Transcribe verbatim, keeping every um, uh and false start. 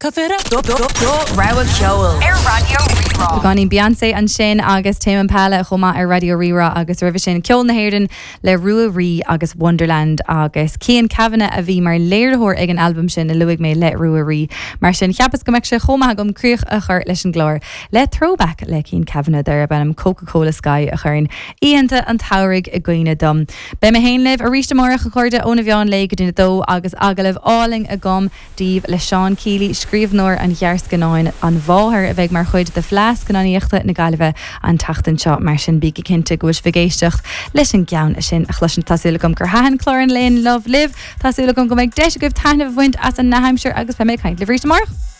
Cough it up. Do rogha ceoil ar Raidió Rí-Rá. Beagáinín Beyoncé ansin agus Tame Impala chomh maith ar Raidió Rí-Rá agus roimhe sin ceol na hÉireann le Rua Rí agus Wonderland agus Cian Kavanagh a bhí mar léiritheoir ag an albam sin a luaigh mé le Rua Rí. Mar sin cheapas go mbeadh sé chomh maith agam críoch a chur leis an gclár le throwback le Cian Kavanagh darb ainm Coca-Cola Sky a chuireann oícheanta an tsamhraidh i gcuimhne dom. Beidh mé féin libh arís amárach a chairde óna mheán lae go dtí a dó agus agallamh álainn agam daoibh le Seán Keeley, scríbhneoir an ghearrscannáin An Mháthair a bheidh mar chuid de Fleadh Scannánaíochta na Gaillimhe an tseachtain seo mar sin bígí cinnte go bhfuil sibh ag éisteacht leis an gceann sin a chloisint Tá súil agam gur thaitin clár an lae inniu libh Tá súil agam go mbeidh deis agaibh taitneamh a bhaint as an ndea-aimsir agus beidh mé ag caint libh arís amárach.